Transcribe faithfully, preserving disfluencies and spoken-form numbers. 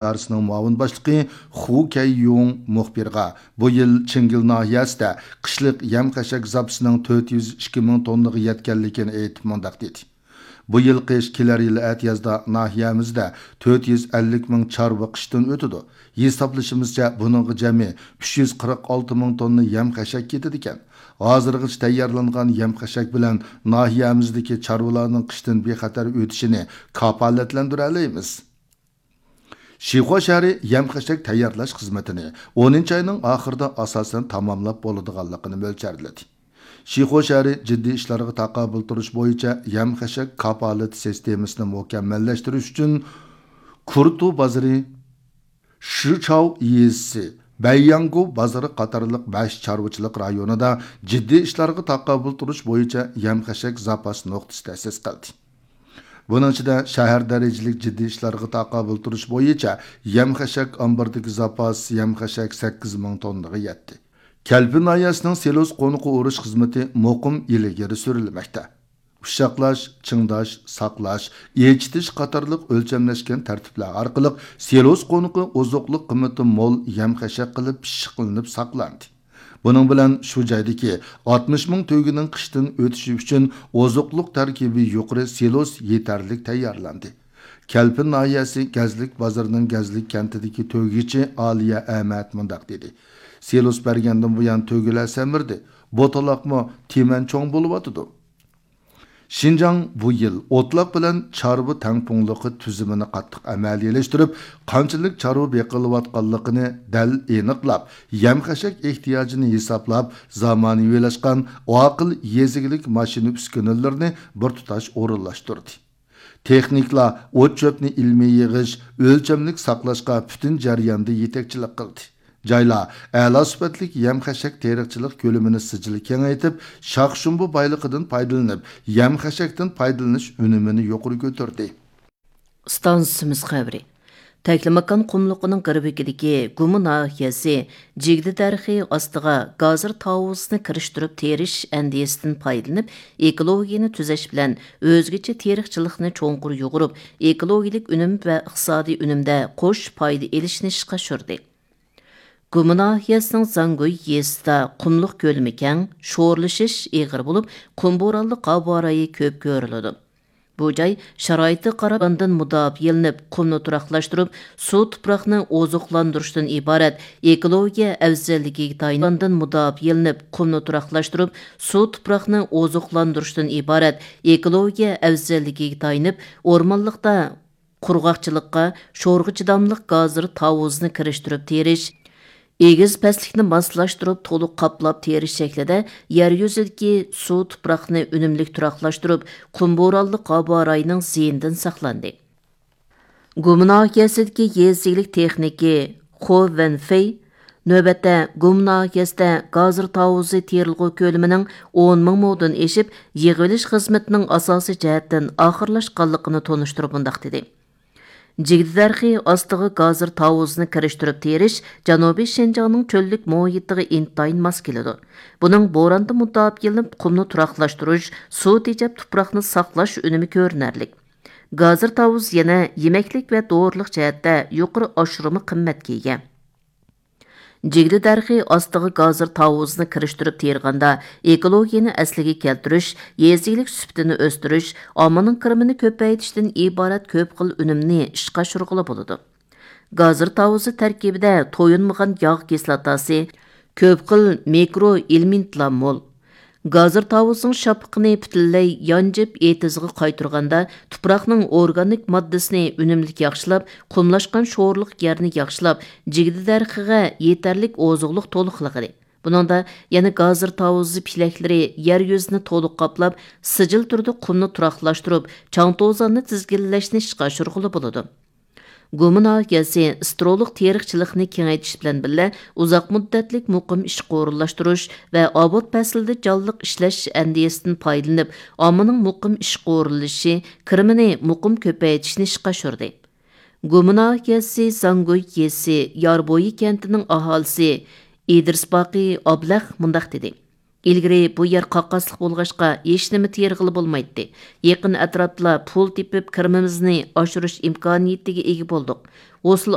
ئىدارىسىنىڭ مۇئاۋىن باشلىقى خۇ كەييۇڭ مۇخبىرغا بۇ يىل چىڭگىل ناھىيەسىدە قىشلىق يەم-خەشەك زاپىسىنىڭ تۆت يۈز ئىككى مىڭ توننىغا يەتكەنلىكىنى ئېيتىپ مۇنداق دېدى: بۇ يىل قىش كېلەر يىلى ئەتىيازدا ناھىيەمىزدە تۆت يۈز ئەللىك مىڭ چارۋا قىشتىن ئۆتىدۇ. ھېسابلىشىمىزچە، بۇنىڭغا جەمئىي ئۈچ يۈز قىرىق ئالتە مىڭ توننا يەم-خەشەك كېتىدىكەن. ھازىرغىچە تەييارلانغان يەم-خەشەك بىلەن ناھىيەمىزدىكى چارۋىلارنىڭ قىشتىن بىخەتەر ئۆتۈشىنى كاپالەتلەندۈرەلەيمىز. شىخۇا شەھىرى يەم-خەشەك تەييارلاش خىزمىتىنى ئونىنچى ئاينىڭ ئاخىرىدا ئاساسەن تاماملاپ بولىدىغانلىقىنى مۆلچەرلىدى. شىخۇا شەھىرى جىددىي ئىشلارغا تاقابىل تۇرۇش بويىچە يەم-خەشەك كاپالىتى سىستېمىسىنى مۇكەممەللەشتۈرۈش ئۈچۈن، كۇرتۇ بازىرى، شىچاۋ يېزىسى، بەيياڭگۇ بازىرى قاتارلىق بەش چارۋىچىلىق رايونىدا جىددىي ئىشلارغا تاقابىل تۇرۇش بويىچە يەم-خەشەك زاپاس نۇقتىسى تەسىس قىلدى. بۇنىڭ ئىچىدە شەھەر دەرىجىلىك جىددىي ئىشلارغا تاقابىل تۇرۇش بويىچە يەم-خەشەك ئامبىرىدىكى زاپاس يەم-خەشەك سەككىز مىڭ توننىغا يەتتى. كەلپىن ناھىيەسىنىڭ سېلوس قونىقى ئورۇش خىزمىتى مۇقىم ئىلگىرى سۈرۈلمەكتە. ئۇششاقلاش، چىڭداش، ساقلاش، ئېچىتىش قاتارلىق ئۆلچەملەشكەن تەرتىپلەر ئارقىلىق سېلوس قونىقى ئوزۇقلۇق قىممىتى مول يەم-خەشەك قىلىپ پىششىقلىنىپ ساقلاندى. بۇنىڭ بىلەن شۇ جايدىكى ئاتمىش مىڭ تۆگىنىڭ قىشتىن ئۆتۈشى ئۈچۈن ئوزۇقلۇق تەركىبى يۇقىرى سېلوس يېتەرلىك تەييارلاندى. كەلپىن ناھىيەسى گەزلىك بازىرىنىڭ گەزلىك كەنتىدىكى تۆگىچى ئالىيە ئەمەت مۇنداق دېدى: سېلوس بەرگەندىن بۇيان تۆگىلەر سەمرىدى. بوتىلاقمۇ تىمەن چوڭ بولۇۋاتىدۇ. شىنجاڭ بۇ يىل ئوتلاق بىلەن چارۋا تەڭپۇڭلۇقى تۈزۈمىنى قاتتىق ئەمەلىيلەشتۈرۈپ، قانچىلىك چارۋا بېقىلىۋاتقانلىقىنى دەل ئېنىقلاپ، يەم-خەشەك ئېھتىياجىنى ھېسابلاپ، زامانىۋىلاشقان ئاقىل يېزا ئىگىلىك ماشىنا ئۈسكۈنىلىرىنى بىر تۇتاش ئورۇنلاشتۇردى. تېخنىكلار ئوت-چۆپنى ئىلمىي يىغىش، ئۆلچەملىك ساقلاشقا پۈتۈن جەرياندا يېتەكچىلىك قىلدى. جايلار ئەلا سۈپەتلىك يەم-خەشەك تېرىقچىلىق كۆلىمىنى سىجىل كېڭەيتىپ، شاخ-شۇمبا بايلىقىدىن پايدىلىنىپ، يەم-خەشەكتىن پايدىلىنىش ئۈنۈمىنى يۇقىرى كۆتۈردى. ئىستانسىمىز خەۋىرى. تەكلىماكان قۇملۇقىنىڭ غەربىدىكى گۇما ناھىيەسى جىگدە دەرىخى ئاستىغا گازىر تاۋۇزىنى كىرىشتۈرۈپ تېرىش ئەندىزىسىدىن پايدىلىنىپ، ئېكولوگىيەنى تۈزەش بىلەن ئۆزگىچە تېرىقچىلىقنى چوڭقۇر يۇغۇرۇپ، ئېكولوگىيەلىك ئۈنۈم ۋە ئىقتىسادىي ئۈنۈمدە قوش پايدا ئېلىشنى ئىشقا ئاشۇردى. گۇما ناھىيەسىنىڭ زاڭگۇي يېزىسىدا قۇملۇق كۆلىمى كەڭ، شورلىشىش ئېغىر بولۇپ، قۇم بورانلىق ھاۋا رايى كۆپ كۆرۈلىدۇ. بۇ جاي شارائىتىغا قاراپ، ئاندىن مۇداپىئەلىنىپ، قۇمنى تۇراقلاشتۇرۇپ، سۇ تۇپراقنى ئوزۇقلاندۇرۇشتىن ئىبارەت ئېكولوگىيە ئەۋزەللىكىگە تايىنىپ، ئاندىن مۇداپىئەلىنىپ، قۇمنى تۇراقلاشتۇرۇپ، سۇ تۇپراقنى ئوزۇقلاندۇرۇشتىن ئىبارەت ئېكولوگىيە ئەۋزەللىكىگە تايىنىپ، ئورمانلىقتا قۇرغاقچىلىققا، شورغا چىداملىق گازىر تاۋۇزىنى كىرىشتۈرۈپ تېرىش، ئېگىز پەسلىكنى ماسلاشتۇرۇپ، تولۇق قاپلاپ تېرىش شەكلىدە يەر يۈزىدىكى سۇ تۇپراقنى ئۈنۈملۈك تۇراقلاشتۇرۇپ، قۇم بورانلىق ھاۋا رايىنىڭ زىيىنىدىن ساقلاندى. گۇما ناھىيەسىدىكى يېزا ئىگىلىك تېخنىكى خو ۋەنفېي نۆۋەتتە گۇما ناھىيەسىدە گازىر تاۋۇزى تېرىلغۇ كۆلىمىنىڭ ئون مىڭ مودىن ئېشىپ، يىغىۋېلىش خىزمىتىنىڭ ئاساسىي جەھەتتىن ئاخىرلاشقانلىقىنى تونۇشتۇرۇپ مۇنداق دېدى: جىگدە دەرىخى ئاستىغا گازىر تاۋۇزىنى كىرىشتۈرۈپ تېرىش جەنۇبىي شىنجاڭنىڭ چۆللۈك مۇھىتىغا ئىنتايىن ماس كېلىدۇ. بۇنىڭ بوراندىن مۇداپىئەلىنىپ، قۇمنى تۇراقلاشتۇرۇش، سۇ تېجەپ تۇپراقنى ساقلاش ئۈنۈمى كۆرۈنەرلىك. گازىر تاۋۇز يەنە يېمەكلىك ۋە دورىلىق جەھەتتە يۇقىرى ئاشۇرما قىممەتكە ئىگە. جىگدە دەرىخى ئاستىغا گازىر تاۋۇزىنى كىرىشتۈرۈپ تېرىغاندا، ئېكولوگىيەنى ئەسلىگە كەلتۈرۈش، يېزا ئىگىلىك سۈپىتىنى ئۆستۈرۈش، ئاممىنىڭ كىرىمىنى كۆپەيتىشتىن ئىبارەت كۆپ خىل ئۈنۈمنى ئىشقا ئاشۇرغىلى بولىدۇ. گازىر تاۋۇزى تەركىبىدە تويۇنمىغان ياغ كىسلاتاسى، كۆپ خىل مىكرو ئېلېمېنتلار مول. گازىر تاۋۇزىنىڭ شاپىقىنى پۈتۈنلەي يانجىپ ئېتىزىغا قايتۇرغاندا، تۇپراقنىڭ ئورگانىك ماددىسىنى ئۈنۈملۈك ياخشىلاپ، قۇملاشقان شورلۇق يەرنى ياخشىلاپ، جىگدە دەرىخىگە يېتەرلىك ئوزۇقلۇق تولۇقلىغىلى. بۇنىڭدا يەنە گازىر تاۋۇزى پېلەكلىرى يەر يۈزىنى تولۇق قاپلاپ، سىجىل تۈردە قۇمنى تۇراقلاشتۇرۇپ، چاڭ توزاننى تىزگىنلەشنى ئىشقا ئاشۇرغىلى بولىدۇ. گۇما ناھىيەسى سترولۇق تېرىقچىلىقنى كېڭەيتىش بىلەن بىللە، ئۇزاق مۇددەتلىك مۇقىم ئىشقا ئورۇنلاشتۇرۇش ۋە ئاۋات پەسلىدە جانلىق ئىشلەش ئەندىزىسىدىن پايدىلىنىپ، ئاممىنىڭ مۇقىم ئىشقا ئورۇنلىشىشى، كىرىمىنى مۇقىم كۆپەيتىشنى ئىشقا ئاشۇردى. گۇما ناھىيەسى زاڭگۇي يېزىسى ياربويى كەنتىنىڭ ئاھالىسى ئىدرىس باقى ئابلەخ مۇنداق دېدى: ئىلگىرى بۇ يەر قاقاسلىق بولغاچقا، ھېچنېمە تېرىغىلى بولمايتتى. يېقىن ئەتراپتىلا پۇل تېپىپ، كىرىمىمىزنى ئاشۇرۇش ئىمكانىيىتىگە ئىگە بولدۇق. غۇسۇل